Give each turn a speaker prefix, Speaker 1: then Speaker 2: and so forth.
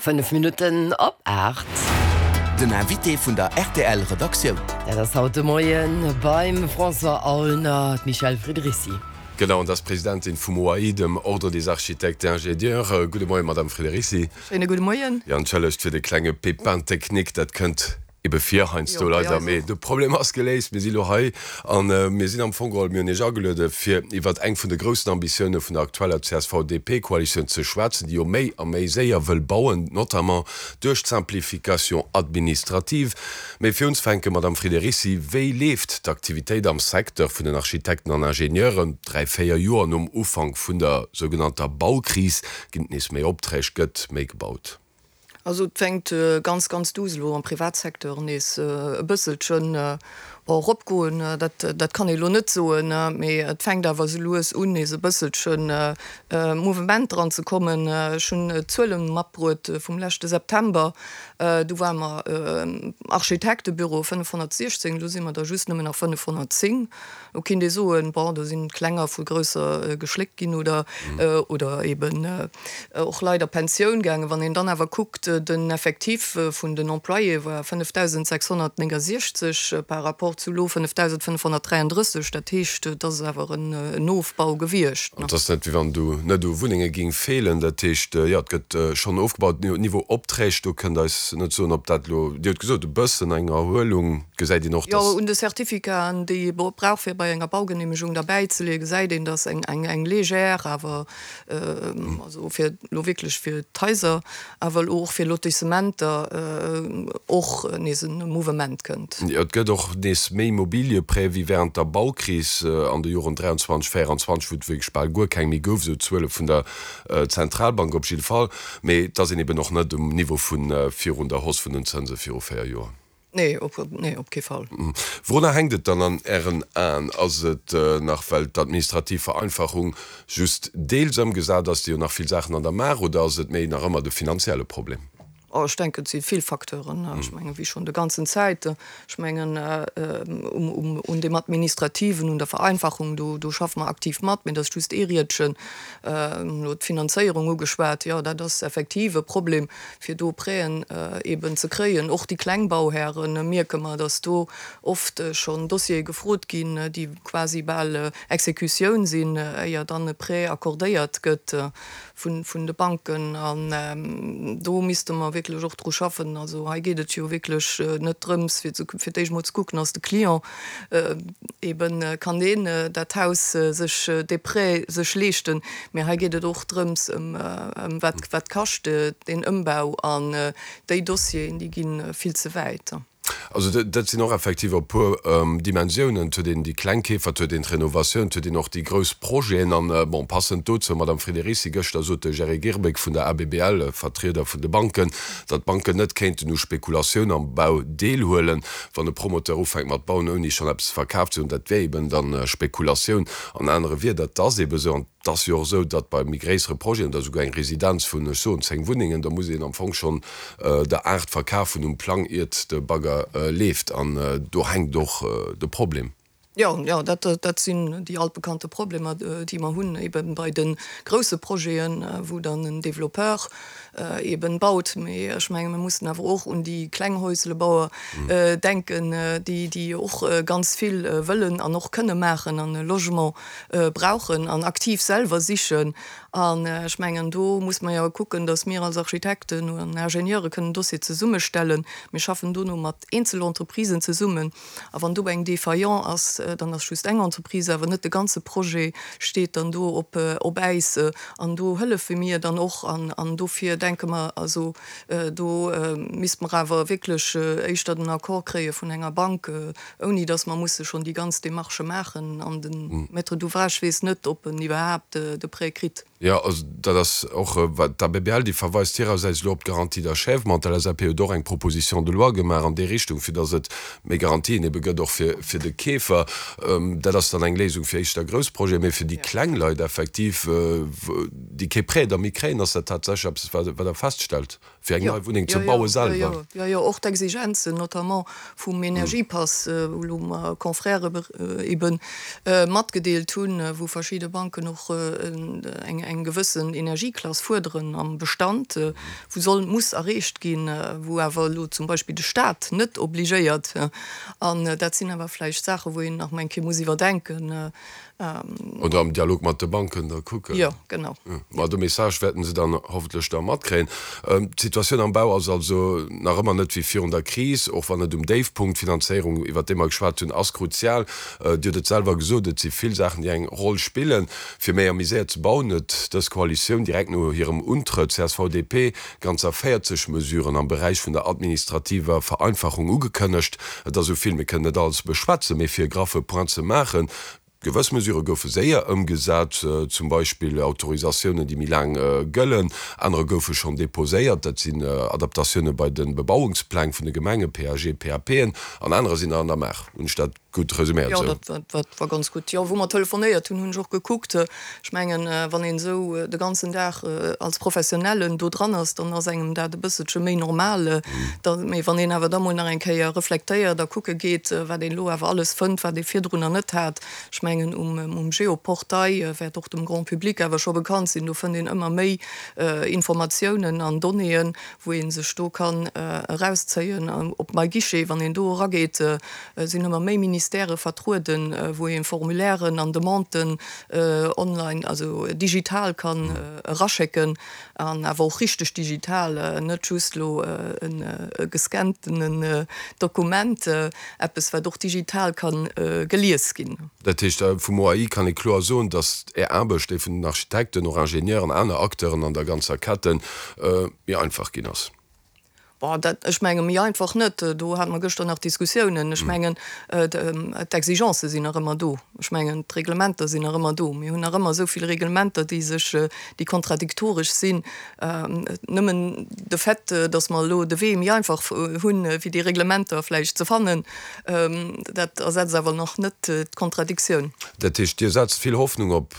Speaker 1: 5 Minutten op 8.
Speaker 2: Den Invité vun der rtl Redaktioun.
Speaker 1: Dat ass haut de Moien beim François Aulner d'Michèle Friderici.
Speaker 3: Genau, an dat ass d'Presidentin vum OAI, dem Ordre des Architectes et Ingénieurs. Gudde Moien, Madame Friderici.
Speaker 4: Schéine gudde Moien.
Speaker 3: Jo, entschëllegt fir de klenge Pépin technique, dat kënnt Ebe vir heiansdo leider, mee de Problem ass geléist. Mir si lo hei a mir sinn am Fong geholl, mir hunn Iech ageluede fir iwwert eng vun de groussen Ambitioune vun der aktueller CSV-DP-Koalitioun ze schwätzen, déi jo méi a méi séier wëll bauen, notamment duerch d'Simplification administrative. Mee fir unzefänken, Madame Friederici, wéi leeft d'Aktivitéit am Secteur vun den Architekten an Ingenieuren? Dräi, véier Joer nom Ufank vun der sougenannter Baukris ginn et nees méi Opträg, gëtt méi gebaut?
Speaker 4: Also et fänkt ganz, ganz duuss elo am Privatsecteur nees e bësselchen, bon, eropgoen, dat, dat kann ee elo net soen, mee et fänkt awer esou lues un, nees e bësselchen Mouvement dran ze kommen. Ech hunn d'Zuele matbruet vum leschte September, du ware mer Architektebüro 516, elo si mer der just nëmmen nach 510. Do kinnt ee soen, bon, do sinn Klenger vu Grousser geschléckt ginn oder, oder eben och Leit a Pensioun gaangen. Wann een dann awer kuckt, den Effectif vun den Employéë war 5.669 par rapport zu elo 5.533. Dat heescht, et ass awer en Ofbau gewiescht.
Speaker 3: An et ass net, wéi wann do net u Wunnenge géing feelen. Dat heescht, jo, et gëtt schonn ofgebaut. Niveau Opträg, do kënnt eis net soen, ob dat elo, Dir hutt gesot, e bëssen eng Erhuelung. Gesäit een och,
Speaker 4: dass. Jo, un de Certificaten, déi ee brauch fir bei enger Baugeneemegung derbäizeleeën, gesäit een, dass eng, eng, eng légère, awer, also fir elo wierklech fir d'Haiser, awer elo och fir Lotissementer och nees e Mouvement kënnt.
Speaker 3: Jo, et gëtt och nees méi Immobilieprêts wéi während der Baukris an de Joren 23, 24, wou et wierklech bal guer keng méi gouf, esou d'Zuele vun der Zentralbank op jidde Fall. Mee et ass een eben och net um Niveau vu virun der Hausse vun den Zënse viru 4 Joer.
Speaker 4: Nee, op, nee, op kee Fall.
Speaker 3: Wourunner hänkt et dann an Ären Aen? Ass et nach, well d'administrativ Vereinfachung just deels ëmgesat ass, déi jo nach vill Saachen an der Maach, oder ass et méi nach ëmmer de finanzielle Problem?
Speaker 4: Oh, ech denken, et si vill Facteuren. Ech mengen, wéi schonn de ganzen Zäit, ech mengen, um, um, un deem Administrativen, un der Vereinfachung, do, do schaffe mer aktiv mat, mee dat ass just ee Riedchen. Elo d'Finanzéierung ugeschwat, jo, dat ass effektiv e Problem. fir do Prêten eben ze kréien. Och déi kleng Bauhäre mierke mer, datt do oft schonn Dossiere gefrot ginn, déi quasi bal Exekutioun sinn, éier dann e Prêt accordéiert gëtt vun de Banken. An do misste mer wierklech och dru schaffen. Also hei geet et jo wierklech net drëms, fir fir d'éischt emol ze kucken, ass de Client Eben kann deen dat Haus sech, dee Prêt sech leeschten. Mee hei geet et och drëms, ëm wat, wat kascht deen Ëmbau an déi Dossieren, déi gi vill ze wäit.
Speaker 3: Also dat sinn och effektiv e puer Dimensiounen. Et huet een déi kleng Keefer, et huet een d'Renovatioun, et huet een och déi grouss Projeten. An, bon, passend dozou, Madame Friederici, gëschter sot de Jerry Girbeck vun der ABBL, Vertrieder vun de Banken, datt d'Banken net kéinten u Spekulatioun am Bau deelhuelen. Wann e Promoteur ufänkt mat bauen, ouni schonn eppes verkaf ze hunn, dat wär eben dann Spekulatioun. An anere Wierder, et ass eben esou, an et ass jo och esou, datt bei méi gréissere Projeten oder esouguer eng Residenz vun, ech soen, 10 Wunnengen, da muss een am Fong schonn der 8 verkaf hunn um Plang, iert de Bagger leeft. An do hänkt och de Problem.
Speaker 4: Jo, jo, dat, dat sinn déi altbekannte Problemer, déi mer hunn, eben bei de grousse Projeten, wou dann en Développeur eben baut. Mee ech menge mir mussen awer och un déi kleng Häuslebauer denken, déi, déi och ganz vill wëllen an och kënne maachen an e Logement brauchen an aktiv selwer sichen. An ech mengen, do muss mer jo kucken, datt mir als Architekten an Ingenieure kënnen Dossier zesummestellen. Mir schaffen dono mat Eenzelentreprisen zesummen. A wann do eng Défaillant ass, dann ass just eng Entreprise, awer net de ganze Projet steet dann do op op Äis. An do hëllefe mir dann och. An an dofir denke mer, also do misste mer awer wierklech éischter den Accord kréie vun enger Bank, ouni datt mer musse schonn déi ganz Démarchë maachen. An de Maître d'ouvrage weess net, ob en iwwerhaapt de Prêt kritt.
Speaker 3: Jo, also dat ass och wat d'ABBL, déi verweist hirersäits elo op d'Garantie d'achèvement. D'LSAP huet och eng Proposition de loi gemaach an déi Richtung, fir datt et méi Garantien ebe gëtt, och fir, fir de Keefer. Dat ass dann eng Léisung fir éischter grouss Projeten, mee fir déi kleng Leit effektiv, déi kee Prêt da méi kréien, ass dat tatsächlech eppes, wat, wat Der feststellt. Fir eng nei Wunneng ze baue selwer.
Speaker 4: Jo, jo, jo, och d'Exigenzen, notamment vum Energiepass, wou elo mer Confrèrë ebe matgedeelt hunn, wou verschidde Banken och eng gewëssen Energieklass fuerderen am Bestand, wou soll, muss erreecht ginn, wou awer elo zum Beispill de Stat net obligéiert. An dat sinn awer vläicht Saachen, wou een nach emol eng Kéier muss iwwerdenken.
Speaker 3: Oder am Dialog mat de Banken da kucken.
Speaker 4: Jo, genau.
Speaker 3: Ma de Message wäerten se dann hoffentlech da matkréien. D'Situatioun am Bau ass also nach ëmmer net wéi virun der Kris, och wann net um Déifpunkt. D'Finanzéierung, iwwert déi mer geschwat hunn, ass kruzial. Dir hutt et selwer gesot, et si vill Saachen, déi eng Roll spillen. Fir méi a méi séier ze bauen, huet dës Koalitioun direkt no hirem Untrëtt, csv-DP, ganzer 40 Mesuren am Beräich vun der administrativer Vereinfachung ugekënnegt. Et ass esou vill, mir kënnen net alles beschwätzen, mee fir e graffe Point ze maachen, Gewëss Mesurë goufe séier ëmgesat, zum Beispill Autorisatiounen, déi méi laang gëllen. Anerer goufe schonn deposéiert, dat sinn Adaptatioune bei de Bebauungspläng vun de Gemengen, PAG, PAPen, an anerer sinn nach an der Maach. Hunn ech dat gutt resuméiert
Speaker 4: esou? Jo, dat war ganz gutt. Jo, wou mer telefonéiert hunn, hunn ech och gekuckt. Ech mengen, wann een esou de ganzen Dag als Professionellen do dran ass, dann ass engem dat e bësselche méi normal. Mee wann een awer da mol nach eng Kéier reflektéiert a kucke geet, wat een elo awer alles fënnt, wat ee virdrunner net hat, ech mengen um Geoportail wäert och dem Grand public awer scho bekannt sinn, do fënnt een ëmmer méi Informatiounen an Donnéeën, wou ee sech do kann erauszéien. Op MyGuichet, wann een do erageet, sinn ëmmer méi Ministèrë vertrueden, wou ee Formulairen an Demanden online, also digital kann eraschécken, an awer och richteg digital, net just elo e gescanntenen Dokument, eppes wat och digital kann gelies ginn.
Speaker 3: Dat heescht, vum OAI kann ee kloer soen, datt Är Aarbecht, déi vun den Architekten, och Ingenieuren, aner Acteuren an der ganzer Ketten, méi einfach ginn ass.
Speaker 4: Bon, dat, ech menge méi einfach net. Do hate mer gëschter nach Diskussiounen. Ech mengen, d'Exigencë sinn nach ëmmer do. Ech mengen, d'Reglementer sinn nach ëmmer do. Mir hunn nach ëmmer esou vill Reglementer, déi sech, déi kontradiktoresch sinn. Nëmmen de Fait, datt mer elo de Wee méi einfach hunn, fir déi Reglementer vläicht ze fannen, dat ersetzt awer nach net d'Kontradiktioun.
Speaker 3: Dat heescht, Dir setzt vill Hoffnung op.